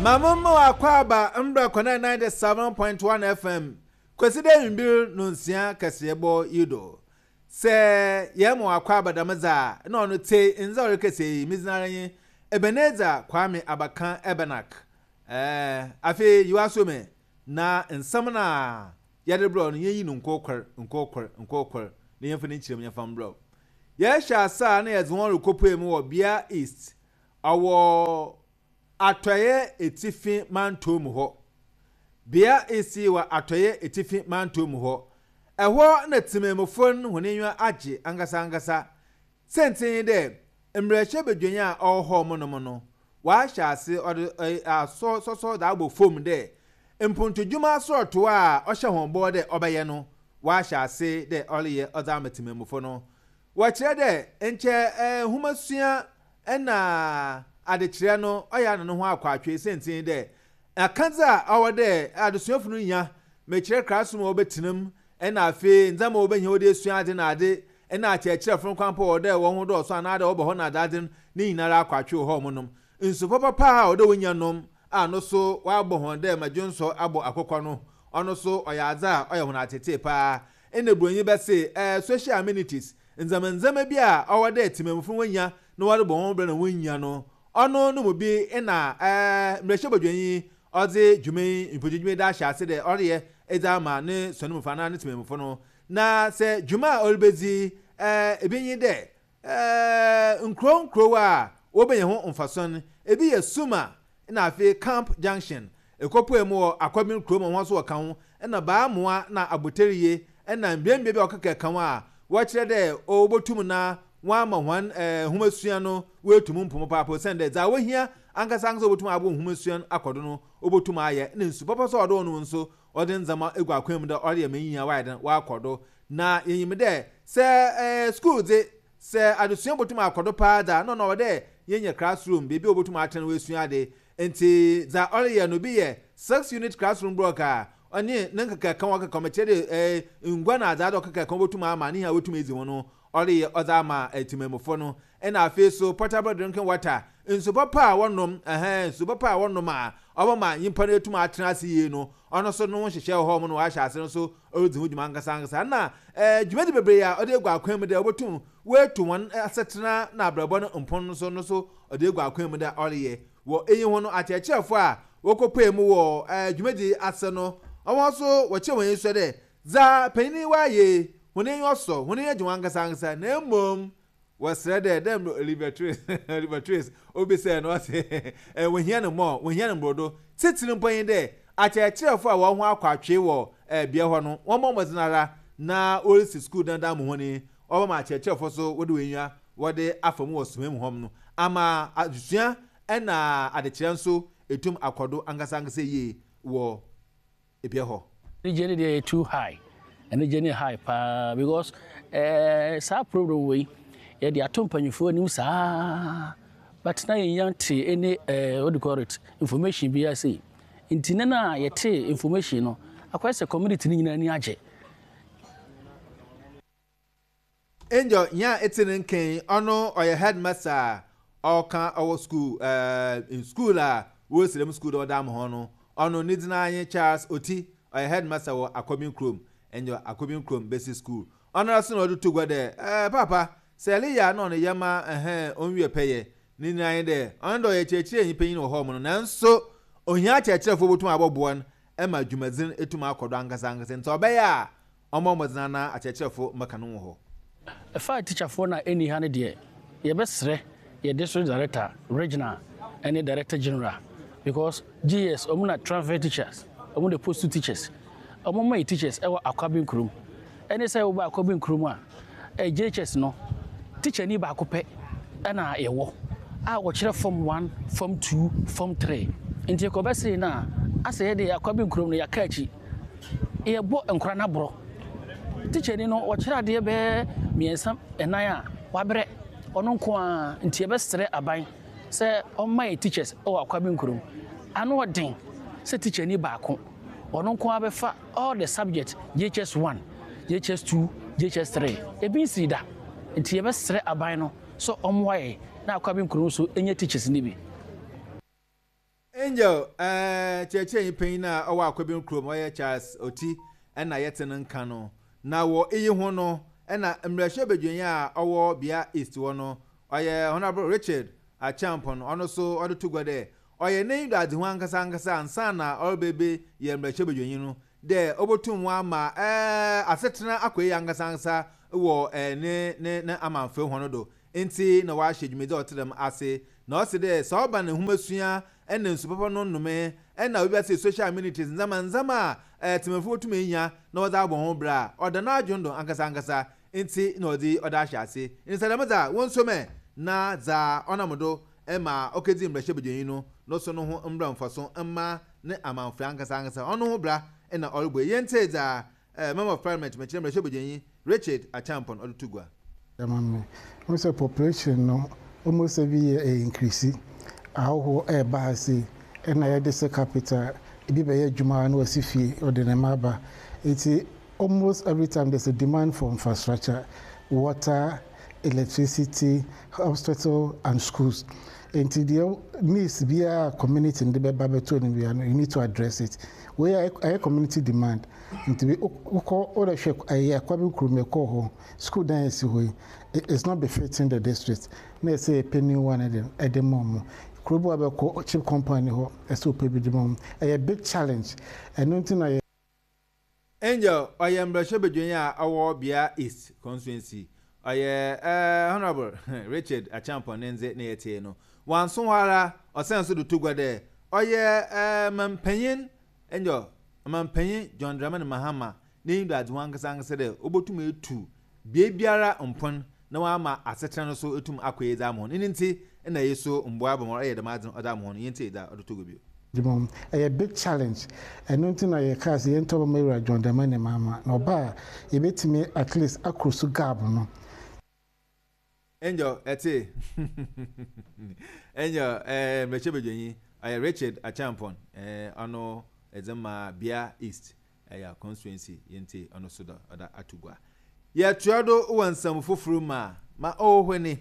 Ma mo akwaaba mbra kɔnɛ 97.1 FM Kwesida ewimbir nonsia kaseɛbɔ yi do. Sɛ yɛma wo akwaaba dɛm dze a, nna ɔno tse ndze a ɔrekasa yi, me dzin ara nye Ebenezer Kwame Abakan Ebenak. Ɛɛ, afei yi w'aso me na nsɛm no a yɛde rebrɛ wo no, yenyi no nkorkor, nkorkor, nkorkor, na yɛmfa ne nkyerɛmu yɛmfa mbrɛ wo. Yɛrehyɛ ase a, nna yɛdze hɔn rokopue mu wɔ Bea East, ɔwɔ Atɔeɛ Etsifi Mantɔw mu hɔ. Bea esi wɔ Atɔeɛ Etsifi Mantɔw mu hɔ. Ɛhɔ na tsemanmufo no hɔn enyiwa agye ankasa-ankasa. Siantsir nye dɛ, mbrahyɛbadwanyi a ɔwɔ hɔ mo nom no, ɔahyɛ ase ɔdze asɔ sɔsɔ dze abɔ famu dɛ mpontodwuma asorɔtow a ɔhyɛ hɔn bɔ dɛ ɔbɛyɛ no, ɔahyɛ ase dɛ ɔreyɛ ɔdze ama tsemanmufo no. Wɔkyerɛ dɛ nkyɛ nwomasua Nna adzekyerɛ no ɔyɛ ana no ho akɔ atwee siantsir nye dɛ, akadze a ɔwɔ dɛ adesuafo no nya, mekyerɛ classroom a wɔbɛtsena mu, nna afei ndzɛmba a wobehia wɔdze esua adze na adze, nna akyerɛkyerɛfo no koraa mpo ɔwɔ dɛ hɔnho dɔɔ so anaadɛ wɔba hɔ na adze adze no ne nyinara akɔ atwee wɔ hɔ nom. Nsu papapa a ɔwɔ dɛ wonya nom a no so wɔabɔ hɔn dɛ ma dwonsɔ abɔ akokɔ no, ɔno so ɔyɛ adze a ɔyɛ hɔn atseetsee paa. Nna Buronyi bɛse, eh, social amenities, Ndzɛmba ndzɛmba bi a ɔwɔ dɛ tsemammufo no wonya na wɔdze bɔ hɔn bra na wonnya no, ɔno no mu bi na mbrahyɛbadwanyi ɔdze dwuma yi, mfɔndwuma yi dze ahyɛ ase dɛ ɔreyɛ dze ama ne sɔnmufo anaa ne tsemammufo no. Na sɛ dwuma a oribedzi bi nye dɛ nkurow nkurow a wobenya ho mfaso no, bi yɛ Suma na afei Camp Junction, Ekopue mu wɔ Akwabin kurom a hɔn so wɔka ho, na Baamoa na Aboterye na mbeambea bi a ɔkeka ka ho a wɔkyerɛ dɛ wobotum na wɔama hɔn nwomasua no woetu mu mpon papaapa osiandɛ dza wohia ankasa ankasa a obotum aboa nwomasua no akɔ do no wobotum ayɛ na nsu papa so a ɔwɔ dɛ wɔnom so wɔdze ndzɛmba egu akwan mu dɛ ɔreyɛ ma nyia wɔayɛ dɛn wɔakɔ do. Na yenyim dɛ sɛ skuul dze sɛ adzesua botum akɔ do paa dze a nna ɔno ɔwɔ dɛ yenya classroom beebi a wobotum atsena na woesua adze. Ntsi dza ɔreyɛ no bi yɛ six-unit classroom block a ɔnye ne nkekaaka a ɔkeka ho, mekyerɛ dɛ ngua na adze adze a ɔkekaaka ho botum ama ne hɛn a wotum edzi ho no, ɔreyɛ ɔdze ama tsemamufo no. Nna afei so portable drinking water, nsu papa a wɔnom, ɛhɛn, nsu papa a wɔnom a ɔbɛma nyimpa no etum atsena ase yie no, ɔno so no ho nhyehyɛɛ wɔ hɔ ma ɔahyɛ ase no so oridzi ho dwuma ankasa ankasa. Nna dwumadzi beberee a ɔdze egu akwan mu dɛ obotum woetu hɔn asetsena na abrabɔ no mpon no so no so ɔdze egu akwan mu dɛ ɔreyɛ. Wɔ iyi ho no, akyerɛkyerɛfo a wokopuee mu wɔ dwumadzi yi ase no, hɔn so wɔkyerɛɛ hɔn enyisɔ dɛ dza panyin yi ɔayɛ yi, hɔn enyiwa sɔ, hɔn enyi gye ho ankasa ankasa, na mbom wɔserɛ dɛ, dɛ mbrɛ Oliver Twist, Oliver Twist, obisae no, ɔse, wohia no more, wohia no mbordo. Tsitsir mpo nye dɛ, akyerɛkyerɛfo a hɔnho akɔ atwee wɔ bea hɔ no, wɔmbɔ mbɔdzen ara na worisi skuul dan dze ama hɔn yi, ɔbɛma akyerɛkyerɛfo so wɔdze hɔn enyiwa wɔdze afa mu wɔ soma mu hɔ no ama adzesua na adzekyerɛ nso etum akɔ do ankasankasa yie wɔ bea hɔ. Anigye no deɛ yɛ too high, anigye no yɛ high paa because eh, saa problem wei yɛde ato mpanyinfoɔ anim saa but na yɛnya nte any eh, what do you call it, information biara sei. Nti ne na yɛte information no akɔyɛ sɛ community no nyinaa ani agye. Angel nyia etse ne nkã yi, ɔno ɔyɛ headmaster a ɔka ɔwɔ skuul eh, skuul a worisi dɛm skuul dɛ ɔda ama hɔn no, ɔno ne dzin ara nye Charles Oti, ɔyɛ headmaster wɔ Akɔbin kurom, Angel Akɔbin kurom Basic School. Ɔnoara so na ɔdze to gua dɛ, eh, paapa, sɛ ereyɛ a nna ɔno yɛ ma eh, onwie pɛyɛ. Ne nyina nye dɛ, ɔno dɛ ɔyɛ kyerɛkyerɛnyi panyin wɔ hɔ no, naaso ohia akyerɛkyerɛfo a wobotum abɔboa no ma dwumadzi no etum akɔ do ankasa ankasa, ntsi ɔbɛyɛ a Ɔmmɔ mmɔden ara na akyerɛkyerɛfo mmɛka no wɔ hɔ. Ɛfa atikyafoɔ no a ɛnni ha no deɛ, yɛbɛsrɛ yɛ district director, regional ɛne director general because GS wɔn na transfer teachers, wɔn na post teachers, wɔn mma yɛ teachers ɛwɔ Akwaben kurom. Ɛne sɛ woba Akwaben kurom a, eh, JHS no, tikyani baako pɛ ɛna yɛwɔ a wɔkyerɛ form one, form two, form three. Nti ɛkɔbɛsee no a, asɛ yɛde Akwaben kurom no yɛaka akyi. Yɛbɔ nkwadaa no aborɔ. Tikyani no, ɔkyerɛ adeɛ bɛyɛ mmiɛnsa, nnan a, wabrɛ. Ɔno nko ara. Nti yɛbɛsrɛ aban sɛ ɔmma yɛn teachers wɔ Akwaben kurom. Ano ɔden sɛ tikyani baako, ɔno nko ara bɛfa all the subject, JHS 1, JHS 2, JHS 3. Ebi nsii da. Nti yɛbɛsrɛ aban no sɛ ɔmmoa yɛn na Akwaben kurom nso nya teachers no bi. Angel, eh, kyerɛkyerɛnyi panyin a ɔwɔ Akwabin kurom, ɔyɛ Charles Oti na yɛtse no nka no. Na wɔ iyi ho no, nna mbrahyɛbadwanyi a ɔwɔ Bia East hɔ no, ɔyɛ Honourable Richard Acheampong, ɔno so ɔdze to gua dɛ ɔyɛ n'enyido-adzehu ankasa ankasa ansaana ɔrebɛbɛyɛ mbrahyɛbadwanyi no, dɛ obotum ɔama asetsena akɔ yie ankasa ankasa wɔ ne ne ne amamfɛw hɔn do ntsi na ɔahyɛ dwumadzi a ɔtse dɛm ase. Na ɔse dɛ sɛ ɔba no nwomasua na nsu papa no nnomee na wiase social amenities ndzɛmba ndzɛmba a tsemamufo botum enya na wɔdze abɔ hɔn bra a, ɔda n'adwen do ankasa ankasa ntsi na ɔdze ɔdze ahyɛ ase. Ntsi sɛ dɛm dze a, wonsuo mɛ na dza ɔnam do ma okedzi mbrahyɛbadwanyi no no so no ho mbra mfaso mma ne amamfoe ankasa ankasa. Ɔno ho bra na ɔrobɔ yi. Yɛntsie dza Member of Parliament, mekyerɛ mbrahyɛbadwanyi Richard Acheampong ɔdze to gua. Ama me. Wohu sɛ population no almost every year ɛ increase. Ahɔhoɔ ɛreba ha sei ɛna yɛde sɛ capital, ebi bɛyɛ adwuma na wasi fie ɔde ne mma aba. Nti almost every time there's a demand for infrastructure, water, electricity, hospital and schools. Nti deɛ needs biara a community no de bɛba bɛto anim biara no, you need to address it. Wei ɛyɛ community demand. Nti wokɔ wode hwɛ ɛyɛ Akwabi kurom yɛkɔɔ hɔ, school dan a ɛsi hɔ yi, it's not befitting the district. Na ɛsɛ yɛpɛ new one de ɛde ma wɔn. Kuro bi a wobɛkɔ chip compound ni hɔ, ɛsɛ wopɛ bi de ma wɔn. Ɛyɛ big challenge. Ɛno nti na yɛ. Angel ɔyɛ mbrahyɛbadwanyi a ɔwɔ Bia East constituency. Ɔyɛ Honourable Richard Acheampong ne ndze na yɛtsee no. Ɔannso hɔ ara, ɔsan so do to gua dɛ ɔyɛ Mampanyin Angel Mampanyin John Dramani Mahama n'enyido-adzehu ankasa-ankasa dɛ obotum etu beebiara mpon na ɔama asetsena no so etum akɔ yie dze ama hɔn. Eno ntsi na iyi so mboa aba ma ɔreyɛ dɛm adze no ɔdze ama hɔn. Yentsie dza ɔdze to gua bio. Adwuma mu. Ɛyɛ big challenge. Ɛno nti na yɛkaa sɛ yɛntɔ bɛma Wura John Dramani Mahama na ɔba a yɛbɛtumi at least akrosu gap no. Angel ɛte Angel eh mmarahyɛbadwanyi ɔyɛ Richard Acheampong eh ɔno ɛdze ma Bia East ɛyɛ constituency yi ntsi ɔno so dɔ ɔda ato gua. Yɛtoa do wɔ nsɛm fofor mu a, ma ɔwɔ hɔ ni,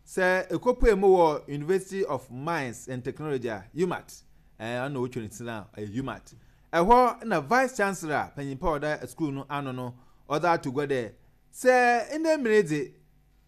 sɛ ekopue mu wɔ University of Mines and Technology a, UMaT, ɛɛ ɔno na wotwa ne tsir a, ɔyɛ UMaT. Ɛhɔ na Vice Chancellor, panyin pa a ɔda skuul no ano no, ɔdze ato gua dɛ, sɛ ndɛ mber yi dze,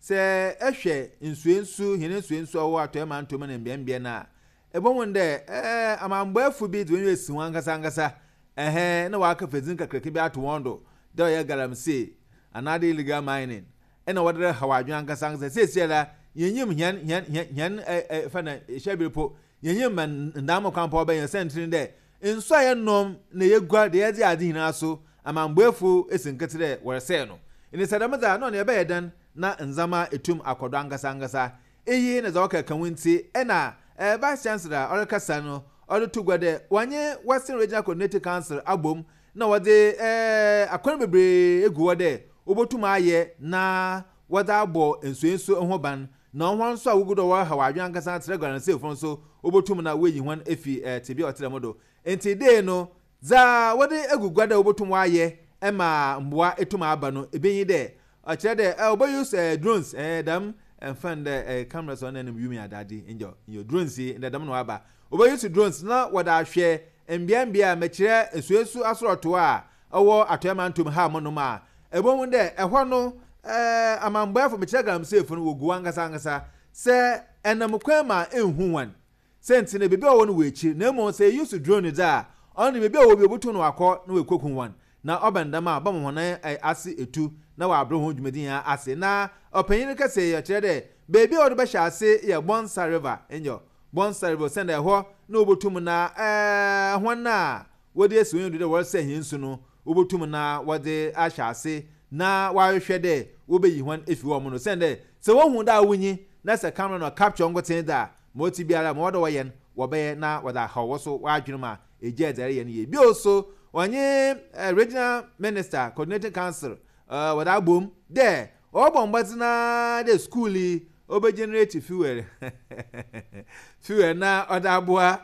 sɛ ehwɛ nsuensu, hɛn nsuensu a ɔwɔ Atɔe Mantɔw mu na mbeambea no a, Ebohun dɛ amambɔefo bi dze hɔn enyiwa esi hɔn ankasa ankasa hɛn na wɔakɛfa dzin kakraka bi ato hɔn do dɛ ɔyɛ galamsey anaadɛ illegal mining na wɔdze rehaw adwen ankasa ankasa. Seseiara yennyim hɛn hɛn hɛn hɛn fa na hyɛber mpo, yennyim ma ndaamba kwan mpo a ɔbɛyɛ siantsir nye dɛ nsu a yɛnom na yeguar dɛ yɛdze yɛ adze nyina so amambɔefo esi nketse dɛ wɔresɛɛ no. Ntsi sɛ dɛm dze a nna ɔno yɛbɛyɛ dɛn na ndzɛmba etum akɔ do ankasa ankasa? Iyi na dza ɔkɛkã ho ntsi na Vice Chancellor a ɔrekasa no ɔdze to gua dɛ wɔnye Western Regional Coordinating Council abɔ mu na wɔdze akwan beberee egu hɔ dɛ wobotum ayɛ na wɔdze abɔ nsuensu ho ban na hɔn so a wogu do a wɔrehaw adwen ankasa tserɛ galamseyfo no so wobotum na woeyi hɔn efi tsebea a ɔtse dɛm do. Ntsi dei no Dza wɔdze egu gua dɛ wobotum wɔayɛ ma mboa etum aba no, bi nye dɛ, ɔkyerɛ dɛ wɔbɔ use drones, dɛm mfa no dɛ cameras a ɔnam wimu adadze, nyew, nyew, drones yi, ndɛ dɛm na wɔaba. Wɔbɔ use drones na wɔdze ahwɛ mbeambea a, mekyerɛ nsuensu asorɔtow a ɔwɔ Atɔe Mantamu ha monom a, ebohu dɛ hɔ no amambɔefo, mekyerɛ galamseyfo no, wogu hɔ ankasa ankasa. Sɛ enam kwan mu a ennhu hɔn, Siantsir no, beebi a ɔwɔ no wɔ ekyir, na mbom sɛ yeyi so drone dze a, ɔno de beebi a ɔwɔ biara obotum na ɔakɔ na oekoku hɔn, na ɔba no dɛm a, ɔbɛma hɔn ase etu na wɔabrɛ hɔn dwumadzi nyina ase. Na ɔpanyin no kɛsɛɛ yi, ɔkyerɛ dɛ beebi a wɔdze bɛhyɛ ase yɛ Bonsa River, nyew, Bonsa River, osiandɛ hɔ na wobotum na hɔn a wɔdze esi hɔn do dɛ wɔresɛɛ hɛn nsu no, wobotum na wɔdze ahyɛ ase na wɔahwehwɛ dɛ wobeyi hɔn efi hɔ no, osiandɛ sɛ wohu dɛ awonyi na sɛ camera no capture nkotsee dze a, Ma ɔtse biara, ma ɔwɔ dɛ wɔyɛ no, wɔbɛyɛ na wɔdze ahaw wo so w'adwen ma egyaa dza ereyɛ no yie. Bio so, wɔnye Regional Minister Coordinating Council wɔdze abɔ mu dɛ wɔbɔbɔ mbɔdzen ara dɛ skuul yi obe generate fuel fuel na ɔdze aboa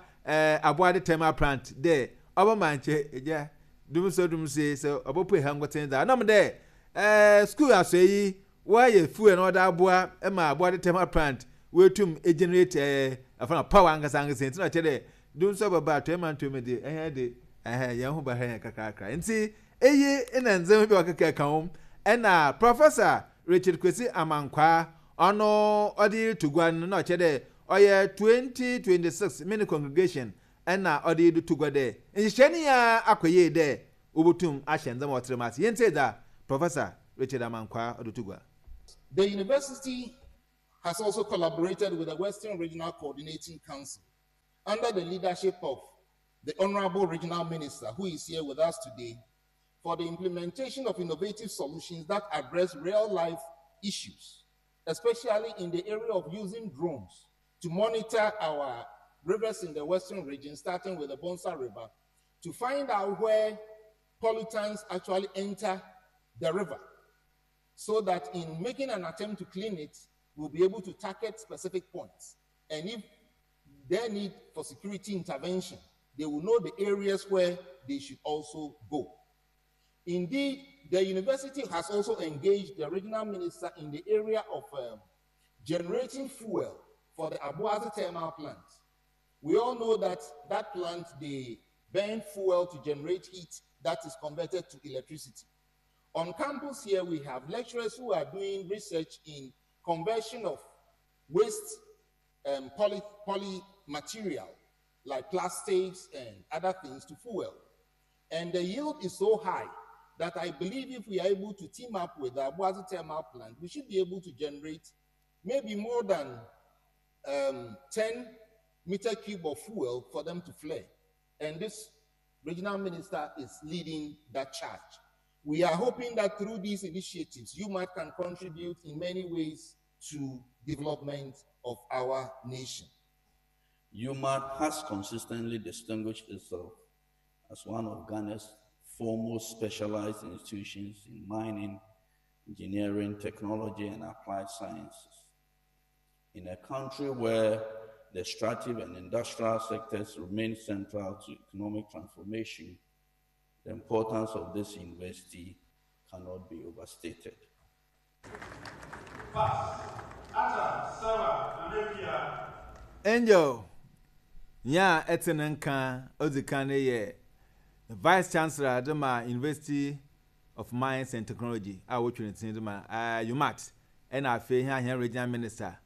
Aboade Thermal Plant dɛ ɔbɛma nkyɛ egya dumsɔ dumsɔ yi sɛ ɔbɔpue ha nkotsee dze a, ɔnam dɛ skuul asoɛe yi Wɔayɛ fuel na wɔdze aboa ma aboa de thermal plant woetum egenerate ɛɛ afana power ankasa ankasa ntsi na ɔkyerɛ dɛ Dum nso bɛba atɔe mantam mu de, ɛhɛn de, ɛhɛn, yɛn ho bɛha yɛn kakrakra. Ntsi, iyi na ndzɛmba bi a ɔkeka ka ho. Nna Professor Richard Kwesi Amankwaa, ɔno ɔdze roto gua no, nna ɔkyerɛ dɛ ɔyɛ 2026 Mini Congregation na ɔdze roto gua dɛ nhyehyɛɛ no nyinaa akɔ yie dɛ wobotum ahyɛ ndzɛmba a ɔtse dɛm ase. Yentsie dza Professor Richard Amankwaa ɔdze to gua. The university has also collaborated with the Western Regional Coordinating Council under the leadership of the Honorable Regional Minister, who is here with us today, for the implementation of innovative solutions that address real life issues, especially in the area of using drones to monitor our rivers in the Western region, starting with the Bonsa River, to find out where pollutants actually enter the river so that in making an attempt to clean it, we'll be able to target specific points. And if there need for security intervention, they will know the areas where they should also go. Indeed, the university has also engaged the regional minister in the area of generating fuel for the Aboadze thermal plant. We all know that that plant, they burn fuel to generate heat that is converted to electricity. On campus here, we have lecturers who are doing research in conversion of waste poly material like plastics and other things to fuel. And the yield is so high that I believe if we are able to team up with the Aboadze thermal plant, we should be able to generate maybe more than 10 meter cube of fuel for them to flare. And this regional minister is leading that charge. We are hoping that through these initiatives, UMaT can contribute in many ways to development of our nation. UMaT has consistently distinguished itself as one of Ghana's foremost specialized institutions in mining, engineering, technology, and applied sciences. In a country where the extractive and industrial sectors remain central to economic transformation, the importance of this university cannot be overstated. Angel, nyia etse ne nkã odzi kan no yɛ Vice Chancellor dze ma University of Mines and Technology a wotwa ne tsin dze ma UMaT na afei hɛn hɛn Regional Minister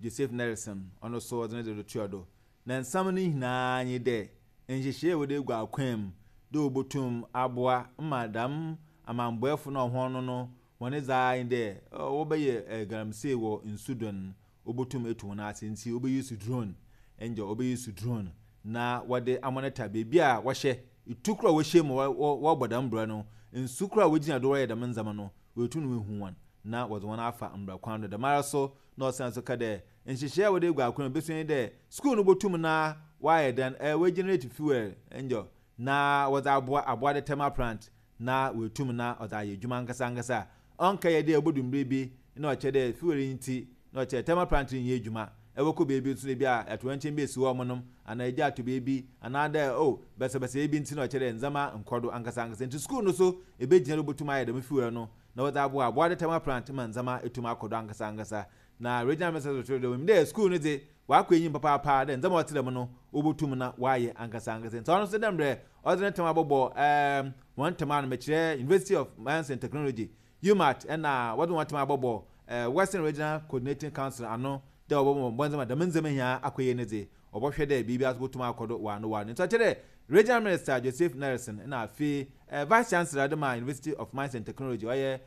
Joseph Nerison ɔno so ɔdze ne dze rotoa do. Na nsɛm no nyina nye dɛ nhyehyɛɛ a wɔdze egu akwan mu dɛ obotum aboa ma dɛm amambɔefo no a hɔn no no hɔn dze ara nye dɛ wɔbɛyɛ galamsey wɔ nsu do no, obotum etu hɔn ase ntsi wobe use drone, nyew wobe use drone na wɔdze amonitor beebi a wɔhyɛ, itu kor a wɔhyɛ mu wɔbɔ dɛm bra no, nsu kor a wogyina do wɔyɛ dɛm ndzɛmba no, woetum woehu hɔn na wɔdze hɔn afa mbra kwan do. Dɛmara so na ɔsan so ka dɛ nhyehyɛɛ a wɔdze egu akwan mu besua nye dɛ skuul no botum na wɔayɛ dɛn, woegenerate fuel, nyew, na wɔdze aboa aboa thermal plant na oetum na ɔdze ayɛ edwuma ankasa ankasa a ɔnnkɛyɛ dɛ obodu mber bi na ɔkyerɛ dɛ fuel yi ntsi na ɔkyerɛ thermal plant rennyɛ edwuma. Ebɔkɔ beebi so no bi a atoyerɛnkyɛm bi esi hɔ a wɔnom anaa egya atɔ beebi anaa dɛ oh basabasayɛ bi ntsi na ɔkyerɛ dɛ ndzɛmba nnkɔ do ankasa ankasa ntsi skuul no so ebegyina do botum ayɛ dɛm fuel no na wɔdze aboa aboa thermal plant ma ndzɛmba etum akɔ do ankasa ankasa. Na Regional Minister so kyerɛ dɛ onyim dɛ skuul no dze ɔakɔ enyim papaapa dɛ ndzɛmba a ɔtse dɛm no wobotum na wɔayɛ ankasa ankasa. Ntsi ɔno so dɛ mbrɛ ɔdze ne tam abɔbɔ ɛɛm hɔn tam ano, mekyerɛ University of Mines and Technology, UMaT, na wɔdze hɔn tam abɔbɔ Western Regional Coordinating Council ano dɛ wɔbɔbɔ mbɔdzen ma dɛm ndzɛmba nyina akɔ yie no dze, wɔbɔhwɛ dɛ biribiara so botum akɔ do wɔ ano wɔ ano. Ntsi ɔkyerɛ dɛ Regional Minister Joseph Nerison na afei Vice Chancellor de ma University of Mines and Technology ɔyɛ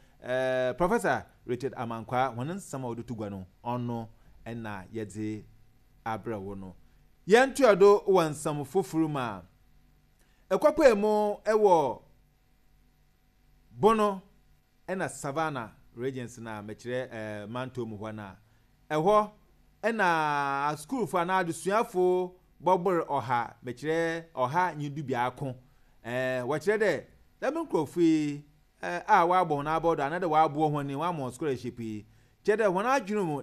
Professor Richard Amankwah hɔn nsɛm a wɔdze to gua no ɔno na yɛdze abrɛ wo no. Yɛntoa do wɔ nsɛm fofor mu a, ekɔpuei mu wɔ Bono na Savannah regions no a, mekyerɛ mantɔw mu hɔ no a, ɛhɔ na asukuufo anaa adesuafo bɔbor ɔha, mekyerɛ 111. Wɔkyerɛ dɛ dɛm nkorɔfo yi a wɔabɔ hɔn abɔdo anaadɛ wɔaboa hɔn yi, wɔama hɔn scholarship yi, kyerɛ dɛ hɔn adwen mu.